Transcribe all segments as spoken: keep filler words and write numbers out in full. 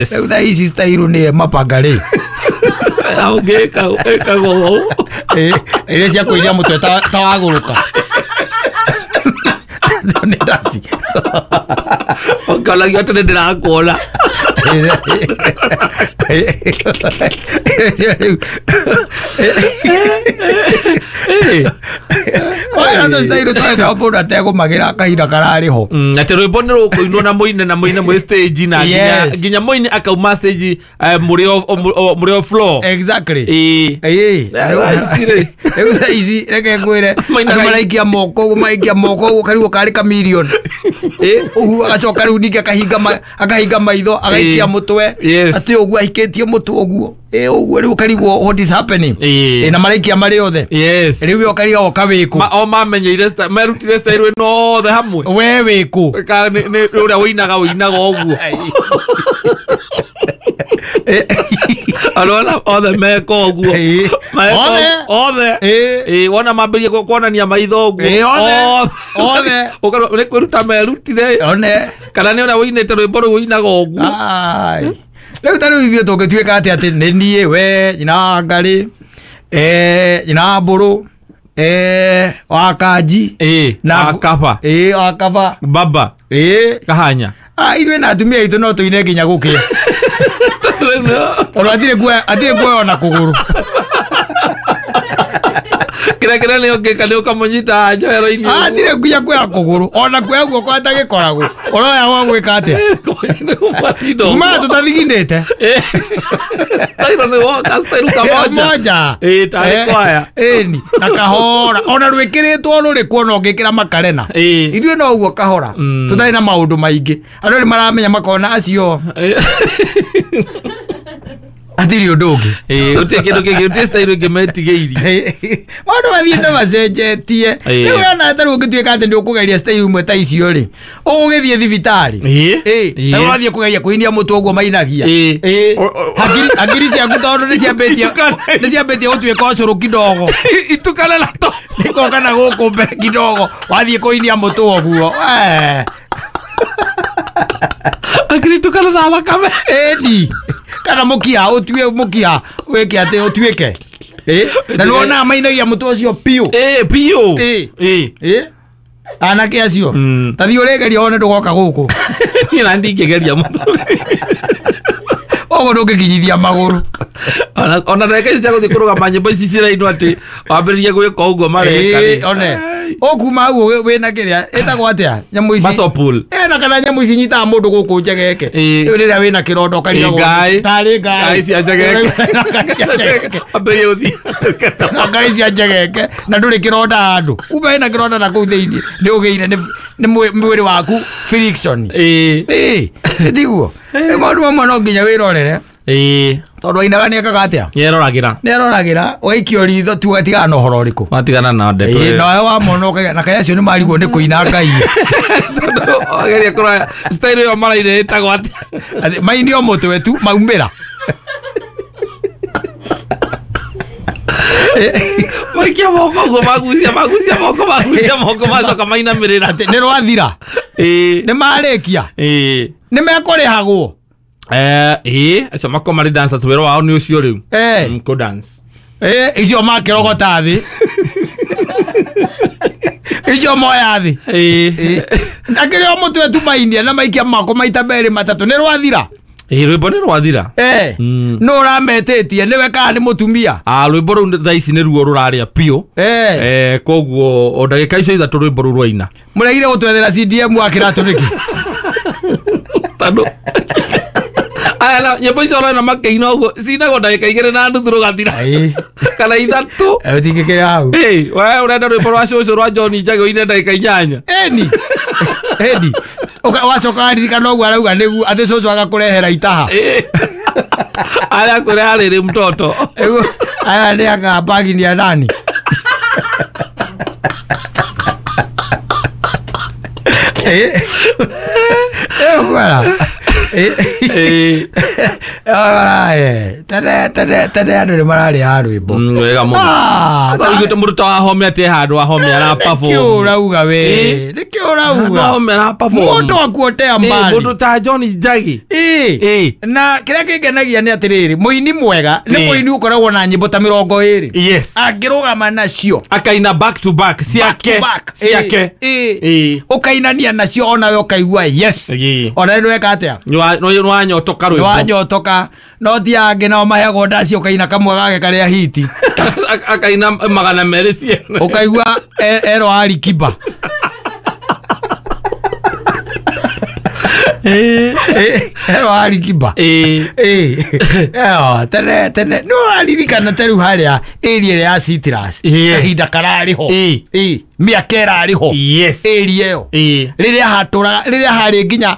Rĩu thaa ici style nĩ mapanga rĩ. Ũngĩka ĩkagwo ũũ. Ĩ, iria cia kũiria mũtwe ta ta wagũrũka. Nĩ ndaci. Ũkonagia atĩ nĩ ndĩrakuona. Mũndũ ategũmagĩra kahinda kararĩ ho. Mm, atĩ rwĩmbo nĩ rũkũinwo na mũine na mũine mwĩ stage na nginya Yes. nginya mũini akauma stage eh, mũrĩ o- o- mũrĩ o floor. Exactly. Ĩĩ. Ĩĩ. Thaa ici rĩ. Rĩu thaa ici reke ngwĩre Mainaga andũ maraikia moko ũguo maraikia moko ũguo karigwo karĩ kamirioni. Ĩ, ũguo agacoka rĩu ningĩ akahinga ma- akahinga maitho agaikia Ĩĩ. mũtwe Yes. atĩ ũguo ahikĩtie mũtwe ũguo. Ĩ, ũguo rĩu ũkarigwo what is happening. Ĩĩ. Ĩ, na maraikia marĩ othe. Yes. Rĩu we ũkarigwo wĩkũ. Ma, o mamenyeire sta- merutire style ĩno othe hamwe. We wĩkũ. Ka nĩ nĩ ũrĩa ũinaga ũinaga ũguo. Arona othe meka ũguo. Ĩĩ. Meka Othe. othe. Ĩĩ. Ĩĩ, wona mambĩrĩria ku- kuonania maitho ũguo. Ĩĩ, othe. Othe. Ũkarwo nĩ kwĩruta merutire. One. Kana nĩ ũrĩa ũinĩte rwĩmbo rũu ũinaga ũguo. Ai. Rĩu ta rĩu ithuĩ tũngĩtuĩka atĩ atĩ nĩ niĩ we nyina wa Ngarĩ, eh, nyina wa Mbũrũ, eh, wa Kanji Ĩĩ, na wa Kaba. Ĩĩ, wa Kaba. Baba. Ĩĩ. Kahanya. Ah, ithuĩ na atumia aitũ no tũine nginya gũkĩa. Tondũ hatirĩ kuoya hatirĩ kuoya ona kũgũrũ. Kĩrĩa kĩrĩa nĩ ũngĩka nĩ ũkamũnyita njohero-inĩ. Ah, hatirĩ nginya kuoya kũgũrũ. Ona kuoya guoko atagĩkoragwo. Ũroya gwa gwĩka atĩa? Tumaga tũtathiginĩte. Style nĩ woka style kamoja. Moja. Ĩĩ, tarĩ Eh, kwaya. ĩni na kahora ona rwĩkĩrĩtwo rũrĩ kuona ũngĩkĩra makarena. Ĩĩ. Ithuĩ no ũguo kahora Mm. tũtarĩ na maũndũ maingĩ andũ nĩ maramenya makona acio hatirĩ ũndũ ũngĩ. Ĩĩ, gũtirĩ kĩndũ kĩngĩ, gũtirĩ style ĩngĩ metigĩirie. Maũndũ mathiĩte macenjetie. Ĩĩ. Rĩu ona ta rĩu ũngĩtuĩka atĩ nĩ ũkũgeria style imwe ta icio rĩ, ũgũgĩthiĩ thibitarĩ. Ĩĩ. Ĩĩ, Ĩĩ. ta rĩu wathiĩ kũgeria kũinia mũtwe ũguo mainagia. Ĩĩ. Ĩĩ. O- o- Hakiri hakiri ciaku tondũ nĩ ciambĩtie Itukane. nĩ ciambĩtie gũtuĩka ũcũrũ kidogo. Itukane na to. Nĩgoka na gũkũ mbere kidogo wathiĩ kũinia mũtwe ũguo. Eh. Akiri itukane na thakame. Ĩni. Kana mũkiha ũtue mũkiha wĩke atĩ ũtuĩke. Ĩĩ. Na nĩwonaga mainagia mũtwe ũcio piũ. Ĩĩ, piũ. Ĩĩ. Ĩĩ. Ĩĩ. Anake acio. Mm. Ta thiĩ ũrĩgeria wone ndũgoka gũkũ. Niĩ na ndingĩgeria mũtwe. Ũguo ndũngĩkinyithia magũrũ. Ona ona ndagĩka ici cia gũthiĩ kũrũgama nyĩmbo ici cirainwo atĩ wambĩrĩrie gwĩka ũguo mareka Ĩĩ, rĩ. one. Ũkuma hau wĩ- wĩna kĩrĩa ĩtagwo atĩa nyamũ ici. Muscle pull. Ĩ, na kana nyamũ ici nyitaga mũndũ gũkũ njegeke. Ĩĩ. Rĩu rĩrĩa wĩna kĩronda ũkarigagwo Ĩĩ, ngai. tarĩ ngai. Ngai cia njegeke. Ngai cia njegeke. Wambĩrĩrie gũthiĩ. Na ngai cia njegeke na ndũrĩ kĩronda handũ. Kumbe wĩna kĩronda na kũu thĩinĩ nĩ ũgĩire nĩ nĩ mwĩ- mwĩrĩ waku friction. Ĩĩ. Ĩĩ, tiguo. Rĩu maũndũ mamwe no nginya wĩrorere. Ĩĩ. Tondũ ainaga nĩ ekaga atĩa? Nĩeroragĩra. Nĩeroragĩra ũgaikio ritho tu ũgatigana na ũhoro ũrĩkũ. Watigana na ndeto Ĩĩ, ĩyo. nawe wamona ũkaiga na kaĩ acio nĩ marigwo nĩ kũina ngai. Tondũ wageria kũrora style ĩyo maraina ĩtagwo atĩa. Atĩ mainio mũtwe tu maumĩra. Maikia moko ũguo magucia magucia moko magucia moko macoka mainamĩrĩra. Atĩ nĩ rwathira. Ĩĩ. Nĩ marĩkia. Ĩĩ. Nĩ mekũrĩhagwo. Eh, ĩĩ, acio makoragwo marĩ dancers wĩra wao nĩ ũcio rĩu. Eh. Mm, kũ dance. Ĩĩ, icio makĩrogota thĩ. Icio moya thĩ. Ĩĩ. Ĩĩ. Na kĩrĩa o mũtwe tu mainia na maikia moko maita merĩ matatũ nĩ rwathira. Ĩĩ, rwĩmbo nĩ rwathira. Eh. Mm. Nũ ũrametĩtie nĩwe kana nĩ mũtumia? Ah, rwĩmbo rũu thaa ici nĩruo rũrarĩa piũ. Eh. Eh, koguo o ndagĩka icio ithatũ rwĩmbo rũu rwaina. Mũregire gũtwethera C D M wa kĩratũ nĩkĩ? Tondũ aya na nyĩmbo icio ũrona makĩina ũguo cinagwo ndagĩka igĩrĩ na nuthu rũgathira. Ĩĩ. Kana ithatũ. Eh, ũtingĩkĩra hau. Ĩĩ, we ũrenda rwĩmbo rwa cũcũ rwa John Njagi ũine ndagĩka inyanya. Ĩni. Ĩni. Ũka- wacoka waririkana ũguo arauga nĩguo atĩ cũcũ agakũrehera itaha. Ĩĩ. Arĩa akũreha rĩrĩ mtoto. Rĩu aya nĩ anga bagi ni ya nani? Eh. Eh, kwara. Eh. Ĩĩ. Ora tene tene tene andũ nĩ mararĩ rwĩmbo. Mm, wega mũno. Ah, Sasa uiguĩte mũndũ ta Wahome atĩ handũ Wahome ara nĩkĩ perform. ũrauga we? Nĩkĩ ũrauga? Wahome ara perform. Mũndũ akuotea Eh, mbali. mũndũ ta John Njagi. Ĩĩ. Ĩĩ. Na kĩrĩa kĩngenagia nĩ atĩrĩrĩ, mũini mwega nĩ Ĩĩ. mũini ũkoragwo na nyĩmbo ta mĩrongo ĩrĩ. Yes. Angĩrũgama nacio Akaina back to back back ciake. to back. Ciake. Ĩĩ. Ĩĩ. Ũkainania nacio onawe ũkaigua yes. Ĩĩ. Ona nĩ weka atĩa? Nĩwanyotoka rwĩmbo. Nĩwanyotoka no ti angĩ nao maheagwo ndaci ũkaina kamwe gake karĩa hiti. Akaina magana merĩ ciene. Ũkaigua e- ero Alikiba. Ero Alikiba. Ĩĩ. Ĩĩ. Ĩyo, tene tene nĩ ũraririkana ta rĩu harĩa area ĩrĩa ya Citrus Yes. kahinda kararĩ ho. Ĩĩ. Ĩĩ, mĩaka ĩrarĩ ho. Yes. Area ĩyo. Ĩĩ. Rĩrĩa hatũraga rĩrĩa harĩ nginya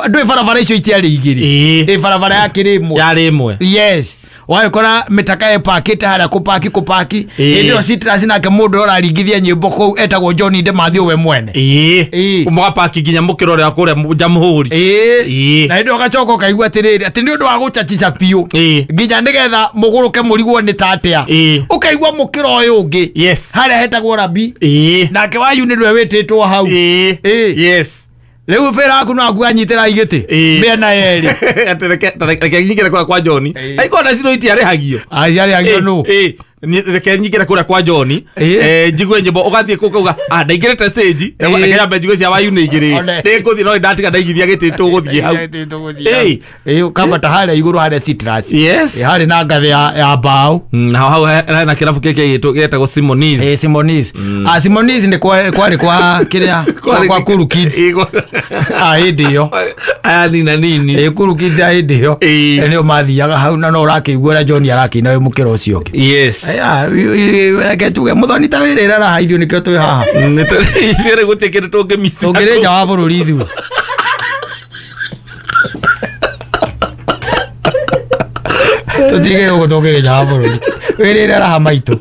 ndũĩ barabara icio itiarĩ igĩrĩ. Ĩĩ. Ĩ barabara yakĩrĩ ĩmwe. Yarĩ ĩmwe. Yes. Wagĩkora mĩtaka ĩpakĩte harĩa kũpaki kũpaki. Ĩĩ. Hĩndĩ ĩyo Citrus nake mũndũ ũrĩa ũraringithia nyĩmbo kũu etagwo John Ndemathĩ we mwene. Ĩĩ. Ĩĩ. Mũgapaki nginya mũkĩra ũrĩa kũrĩa Jamhuri. Ĩĩ. Ĩĩ. Na hĩndĩ ĩyo ũgacoka ũkaigua atĩrĩrĩ atĩ nĩ ũndũ wa gũchachica biũ. Ĩĩ. Nginya nĩgetha mũgũrũke mũrigwo nĩ ta atĩa. Ĩĩ. Ũkaigua mũkĩra ũyũ ũngĩ. Yes. Harĩa hetagwo Rabi. Ĩĩ. Nake Wayu nĩwe wĩtĩtwo hau. Ĩĩ. Ĩĩ. Yes. Rĩu bĩra waku no akuanyitĩra igĩtĩ. Ĩĩ. Mĩena yerĩ. Atĩ reke reke nyingĩre kũrĩa kwa John. Ĩĩ. Aigua na cino itiarĩhagio. Aciarĩhagio nũ? Ĩĩ. Ni- reke nyingĩre kũrĩa kwa John. Ĩĩ. Eh, njigue nyĩmbo ũgathiĩ kũu ũkauga ah ndaingĩrĩte stage. Ĩĩ. Reke nyambe njigue cia Wayu nĩ igĩrĩ. One. Nĩngũthiĩ no ndatiga ndaigithia gĩtĩ tũgũthiĩ hau. Ĩĩ. Ĩĩ ũkambata harĩa igũrũ harĩa Citrus. Yes. Ĩĩ, harĩ na ngathĩ ya ya mbaũ. Mm, na hau hena kĩrabu kĩngĩ gĩtũ gĩtagwo Simonis. Ĩĩ Simonis. Ah Simonis nĩ kwa- kwarĩ kwa kĩrĩa kwa kwa Kuru Kids. Ĩĩ, kwa- Ah hĩndĩ ĩyo. Aya nina nini. Ĩĩ Kuru Kids ya hĩndĩ ĩyo. Ĩĩ. Ĩĩ, nĩo mathiaga hau na no ũrakĩigua ũrĩa John arakĩina wĩ mũkĩra ũcio ũngĩ. Yes. Aya, reke tuge mũthoni ta wĩrĩra raha ithuĩ nĩkĩo twĩ haha. Ithuĩ rĩ gũtirĩ kĩndũ tũngĩmica. Tũngĩrĩ nja wa bũrũri ithuĩ. Tũtigĩrĩ gũkũ tũngĩrĩ nja wa bũrũri. Wĩrĩre raha maitũ.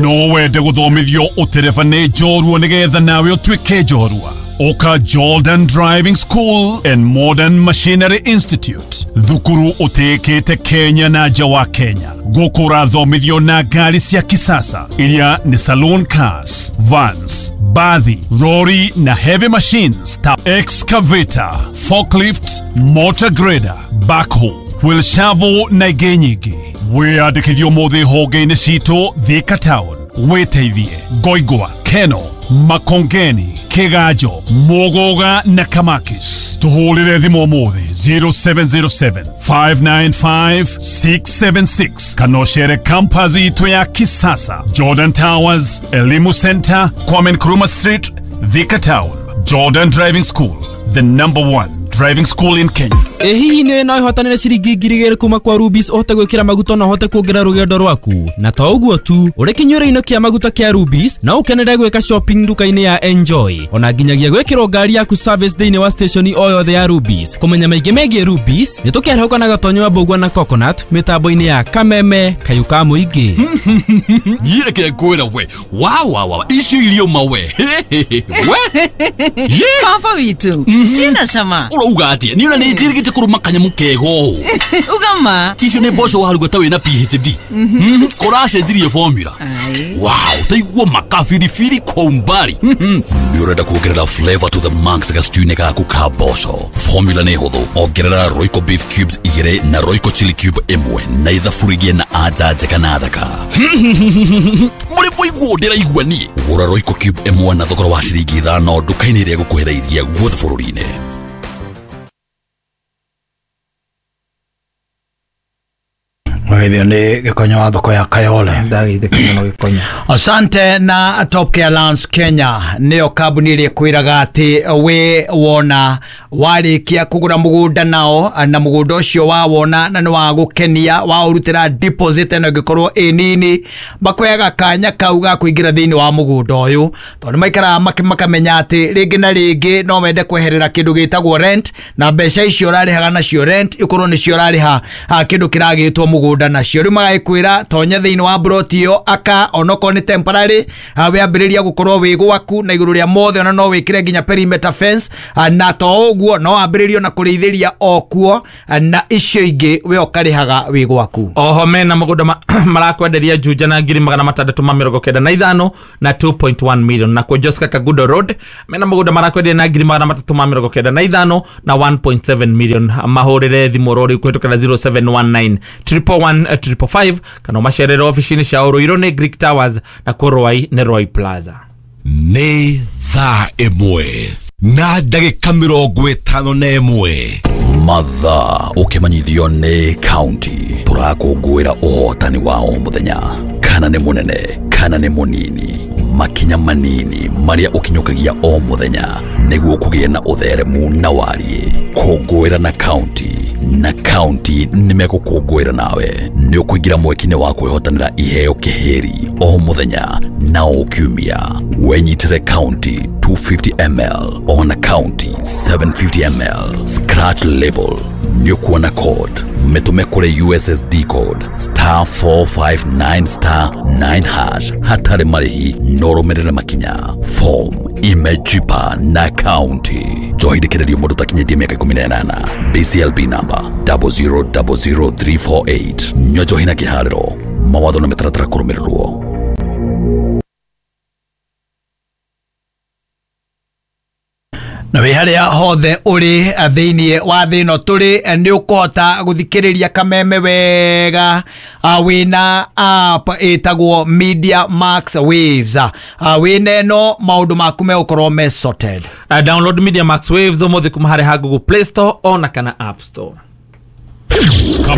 No wende gũthomithio ũtereba nĩ njorua nĩgetha nawe ũtuĩke njorua. Oka Jordan Driving School and Modern Machinery Institute. Thukuru ũtĩĩkĩte Kenya na nja wa Kenya. Gũkũ ũrathomithio na ngari cia kisasa iria nĩ saloon cars, vans, bathi, lorry na heavy machines ta excavator, forklift, motor grader, backhoe, wheel shovel na ingĩ nyingĩ. Wĩyandĩkithio ũmũthĩ honge-inĩ citũ Thika Town, wĩteithie Ngoingwa, Keno, Makongeni, Kiganjo, Muguga na Kamakis. Tuhũrĩre thimũ ũmũthĩ zero seven zero seven, five nine five, six seven six kana ũcere campus itũ ya kisasa Jordan Towers, Elimu Center, Kwame Nkrumah Street, Thika Town. Jordan Driving School, the number one driving school in Kenya. Ĩ hihi nĩ no ĩhotanĩre ciringi ngiri igĩrĩ kuma kwa Rubis ũhote gwĩkĩra maguta na ũhote kuongerera rũgendo rwaku. Na to ũguo tu, ũrĩ kĩnyuĩro-inĩ kĩa maguta kĩa Rubis no ũkenere gwĩka shopping nduka-inĩ ya Enjoy. Ona nginyagia gwĩkĩrwo ngari yaku service thĩinĩ wa station o yothe ya Rubis. Kũmenya maingĩ megiĩ Rubis, nĩ tũkĩarahũka na gatonyo wa Mbũgua na Coconut mĩtambo-inĩ ya Kameme Kayũ ka Mũingĩ. Niĩ reke ngwĩre we wa wa wa icio irio mawe we Baba witũ ciĩna cama. Ũrauga atĩa? Niĩ ona nĩ njĩrĩgĩte kũrũma kanyamũ kega ũũ. Uga ma. Icio nĩ mboco waruga ta wĩna P H D. Kũracenjirie formula. Wow, taigua makabiribiri kwa umbali. Nĩ ũrenda kuongerera flavor to the max gastew-inĩ gaku ka mboco. Formula nĩ hũthũ. Ongerera Royco beef cubes igĩrĩ na Royco chili cube ĩmwe na ithabu igĩe na anja njega na thaka. Mũrĩ mũiguo ndĩraigua niĩ. Gũra Royco cube ĩmwe na thogora wa ciringi ithano nduka-inĩ ĩrĩa ĩgũkuhĩrĩirie guothe bũrũri-inĩ. Mwagithio nĩ gĩkonyo wa thoko ya Kayole. Ndagĩithĩka mũno gĩkonyo. Asante na Top Care Lounge Kenya nĩyo kambuni ĩrĩa ĩkwĩraga atĩ we wona warĩkia kũgũra mũgũnda nao na mũgũnda ũcio wawona na nĩ wa gũkenia waũrutĩra deposit ĩno ĩngĩkorwo ĩ nini makoyaga kanya kau ga kũingĩra thĩinĩ wa mũgũnda ũyũ tondũ maikaraga makamenya atĩ rĩngĩ na rĩngĩ no wende kweherera kĩndũ gĩtagwo rent na mbeca icio ũrarĩhaga nacio rent ikorwo nĩcio ũrarĩha kĩndũ kĩragĩtwo mũgũnda mũgũnda nacio. Rĩu magagĩkwĩra tonya thĩinĩ wa broti ĩyo, aka onokorwo nĩ temporary, ah, wĩambĩrĩria gũkorwo wĩ gwaku, na igũrũ rĩa mothe ona no wĩkĩre nginya perimeter fence, ah, na to ũguo no wambĩrĩrie ona kũrĩithĩria o kuo, ah, na icio ingĩ we ũkarĩhaga wĩ gwaku. Oho mena mũgũnda ma- marakwenderia Juja na ngiri magana matandatũ ma mĩrongo kenda na ithano na two point one million. Nakuo Joska Kagudo Road mena mũgũnda marakwenderia na ngiri magana matatũ ma mĩrongo kenda na ithano na one point seven million. Mahũrĩre thimũ rori kũhĩtũkĩra zero seven one nine one one one five five kana ũmacerere obici-inĩ ciao. Ruiru nĩ Greek Towers, nakuo Ruai nĩ Roy Plaza. Nĩ thaa ĩmwe na ndagĩka mĩrongo ĩtano na ĩmwe. Mathaa ũkĩmenyithio nĩ kaunti. Tũrakũngũĩra ũhotani wa o mũthenya, kana nĩ mũnene kana nĩ mũnini, makinya manini marĩa ũkinyũkagia o mũthenya nĩguo kũgĩe na ũtheremu na wariĩ. Kũngũĩra na kaunti, na kaunti nĩ megũkũngũĩra nawe. Nĩ ũkũingĩra mweki-inĩ wa kwĩhotanĩra iheo kĩhĩri o mũthenya na o kiumia. Wenyitĩre kaunti two fifty milliliters ona kaunti seven fifty milliliters. Scratch label, nĩ ũkuona code. Mĩtũme kũrĩ U S S D code star four five nine star nine hash hatarĩ marĩhi no ũrũmĩrĩre makinya. Form imejipa na kaunti. Njohi ndĩkĩrĩrio mũndũ takinyĩtie mĩaka ikũmi na ĩnana. B C L B number zero zero zero zero three four eight. Nyua njohi na kĩharĩro. Mawatho na mĩtaratara kũrũmĩrĩrwo. Na wĩ harĩa hothe ũrĩ thĩinĩ wa thĩ ĩno tũrĩ, nĩ ũkũhota gũthikĩrĩria Kameme wega, ah, wĩna app ĩtagwo Media Max Waves. Ah, wĩna ĩno maũndũ maku megũkorwo me sorted. Uh, download Media Max Waves ũmũthĩ kuma harĩ ha Google Play Store ona kana App Store.